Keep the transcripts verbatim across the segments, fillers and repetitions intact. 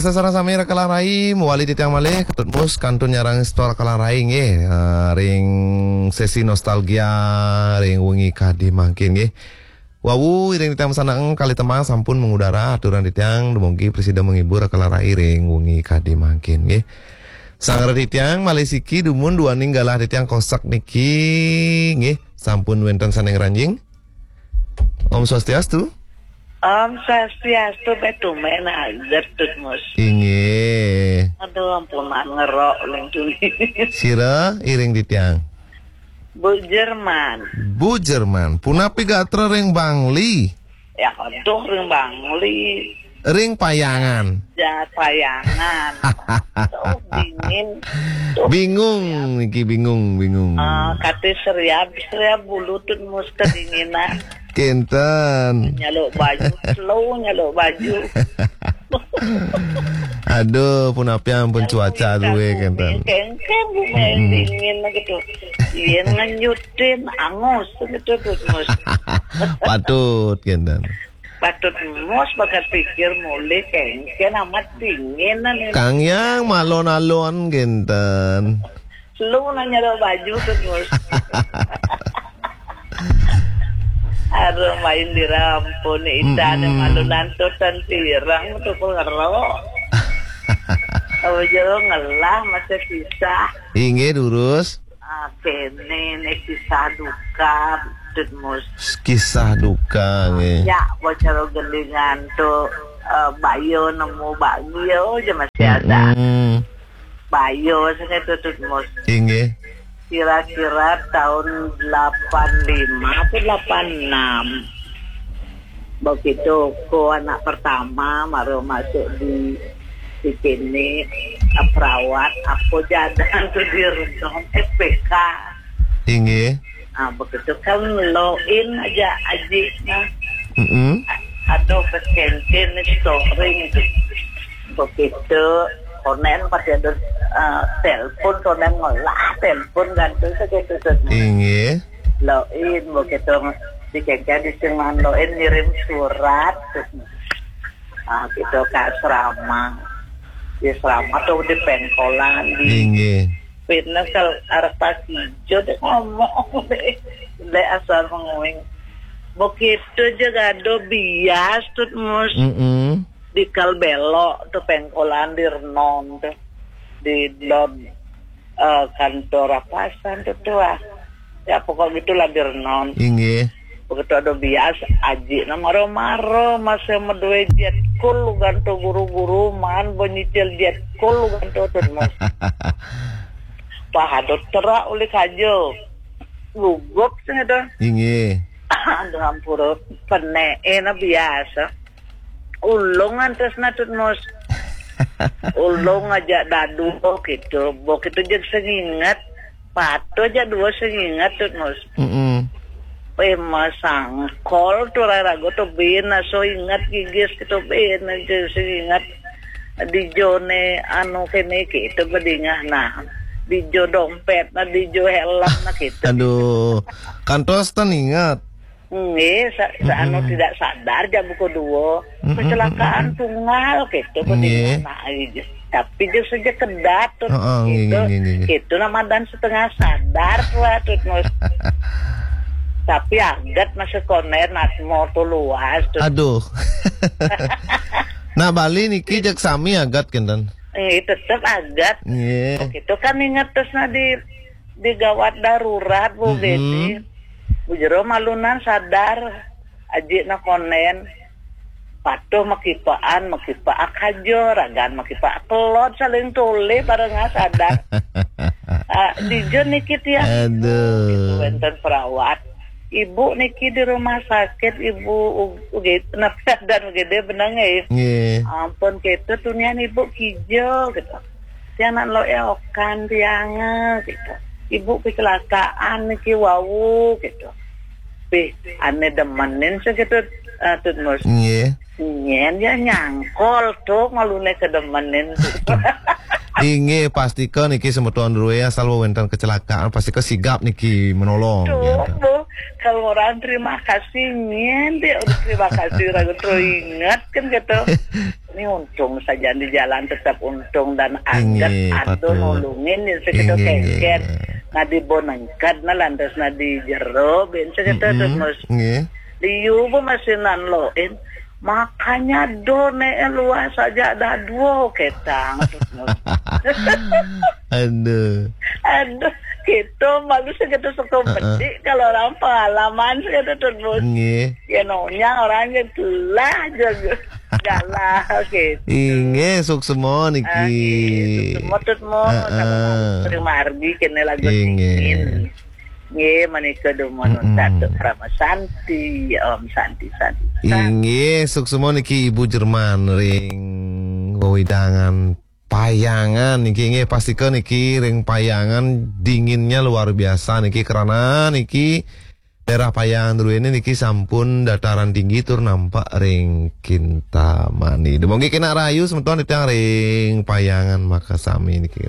Sasareng sami raka lan rai, mawali titiang malih, Ketut Mus kantun nyarengin semeton raka lan rai nggih, eh, ring sesi nostalgia, ring wengi kadi mangkin nggih. Wau, iring titiang masandekan kalih tembang sampun mangudara, aturang titiang dumugi prasida menghibur raka lan rai ring wengi kadi mangkin nggih. Sang raka titiang malih siki dumun duaning galah titiang kosek niki nggih, sampun wénten sané ngranjing. Om Swastiastu. Om Swastiastu, bé tumen aget Tut Mus. Inggih. Aduh, ampun, maan ngerok uling tuni. Sira iring titiang. Bu Jerman. Bu Jerman, punapi gatra ring Bangli? Ya, aduh, ring Bangli. Ring Payangan. Ya, Payangan. Tuh, dingin. Tuh. Bingung niki, bingung, bingung. Ah, kate seriab, seriab bulu Tut Mus kedinginan. Kénten. Nyaluk baju, slow nyaluk baju. Aduh, punapi ampun cuaca duwe kénten. Kéngkén bumi dingin gitu. Yén ngenyutin angus gitu Tut Mus. Patut kénten. Patut Mus bakat pikir mulih kéngkén amat dingin nih. Kang Yang malon-alon kénten. Slow nanya baju Tut Mus. Aduh, main dirampun nih, Ita, ada malu nantutan pirang, tukul ngerok. Apa jero ngelah masa kisah. Inggih, durus. Ah, kéné nih kisah duka, Tut Mus. Kisah duka, nggih. Ya, bocor gendingan tuh, eh, Bayo nemu Bagio aja masih ada. Mm-mm. Bayo, saya Tut Mus. Inggih. Kira-kira tahun delapan lima atau delapan enam. Begitu ko anak pertama baru masuk di, di sini, eh, perawat, apa jadan tuh di Redong, S P K. Inggih. Ah, begitu kan loin aja ajiknya. Mm-mm. Aduh, kecentin nih storing itu. Begitu, konen pasti ada, eh, telepon, konen ngolah telepon kan tuh segitu tuh. Inggih. Loin, begitu dikengken di Singan loin ngirim surat. Ah, gitu ke asrama. Di asrama tuh di pengkolan, di Inggih. Fitness kalau arep pas ijo deh ngomong deh. Deh asal menguing. Begitu aja gado bias Tut Mus. Mm-mm. Di kal belok tuh pengkolan di Renon tuh. Di Lod, eh, kantor apasan tuh tuh ah. Ya pokok gitulah di Renon. Inggih. Begitu ada bias, aji na maro-maro, masih medue jet kul ganto guru-guru, man bonyicil jet kul ganto Tut Mus. Pahadot terak ulik aja. Gugup sing ada. Inggih. Aduh ampura, penee na biasa. Ulung antes na Tut Mus. Ulung aja dadu gitu. Bo gitu jeg senginget. Patuh aja dua senginget Tut Mus. Mm-mm. Eh, masangkol tuh rarago tuh bin, so inget gigis gitu bin aja senginget. Di jone anu kene gitu bedingah nah. Di jo dompet nah, di jo helm nah gitu. Aduh, kantos ten inget. Nggih, sa-, sa-, anu, mm-mm, tidak sadar jam buku dua. Mm-mm, kecelakaan mm-mm, tunggal gitu, nggih, nah, iya. Tapi dia saja kedat tuh, heeh, nggih, gitu. Nggih, nggih, nggih. Itu nama dan setengah sadar tuh, Tut Mus. Tapi agat masih koner, nat motor luas tuh. Aduh. Nah, Bali niki jak sami agat kinten. Nggih, tetep agat. Nggih. Gitu kan inget terus nah di, di gawat darurat, Bu, mm-mm, gini. Bu Jero malunan sadar, aji na konen. Patuh makipaan, makipaak haja, ragan makipaak kelod, saling tolih, bareng sadar. Ah, dija niki tiang. Aduh. Gitu, wénten perawat. Ibu niki di rumah sakit, Ibu U-, U G D, napa dan U G D benang ya? Nggih. Ampun, gitu, tunian Ibu kija, gitu. Tiang nak lo eokan tiang, gitu. Ibu kecelakaan niki wau, gitu. Pih, ane demenin sih gitu, eh, Tut Mus. Nggih. Nyen ya nyangkol tuh ngalune kedemenin. Inggih, pastika niki semeton druwe asal wénten kecelakaan, pastika sigap niki menolong, tuh, gitu. Bu, kalau orang terima kasih, nyen dia udah terima kasih, ragu terus ingat kan gitu. Ini untung saja di jalan tetap untung dan aget. Inggih, ada patut. Nulungin ya segitu. Inggih, inggih, kengken. Inggih. Nah, di bonengkad, nah, lantas, nah, di jero, ben segitu, mm-mm, Tut Mus. Inggih. Liu bu masih nan loin. Makanya do ne luas aja ada dua ketang, Tut Mus. Aduh. Aduh, gitu, malu segitu suka, heeh, bedik kalau orang pengalaman segitu, Tut Mus. Inggih. Ya, nonyang orang yang telah jaga. Galah, gitu. Inggih, suksema niki. Ah, nggih, suksema, Tut Mus. Heeh. Sama Sri Mardi kene lagu. Inggih. Dingin. Nggih, menika dumun. Mm-mm. Satu Parama Santi, Om Santi, Santi, Santi. Inggih, suksema niki Ibu Jerman ring wewidangan Payangan niki, nggih, pastika niki ring Payangan dinginnya luar biasa niki, karena niki daerah Payangan druene niki sampun dataran tinggi tur nampak ring Kintamani. Dumogi kenak rahayu semeton titiang ring Payangan makasami niki.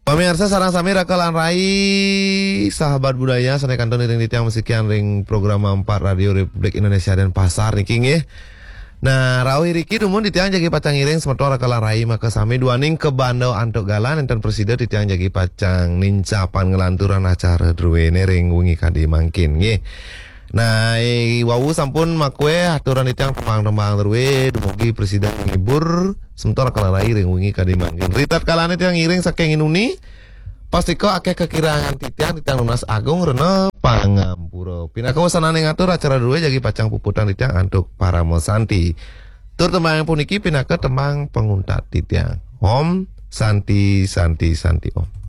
Pamirsa sareng sami raka lan rai, sahabat budaya sane kantun iring titiang masikian ring program empat Radio Republik Indonesia Denpasar niki, nggih. Nah, rauh iriki dumun titiang jagi pacang ngiring semeton raka lan rai makasami duaning kabanda antuk galah, nenten prasida titiang jagi pacang nincapang nglanturang acara druene ring wengi kadi mangkin, nggih. Nah, eh, wau sampun makue aturan titiang tembang-tembang drue, dumugi prasida ngibur semeton raka lan rai ring wengi kadi mangkin. Ritatkala titiang ngiring saking inuni, pastika akeh kakirangan titiang, titiang nunas agung rena pangampura. Pinaka wasananing atur acara drue jagi pacang puputang titiang antuk Parama Santi. Tur tembang puniki pinaka tembang panguntat titiang. Om Santi, Santi, Santi Om.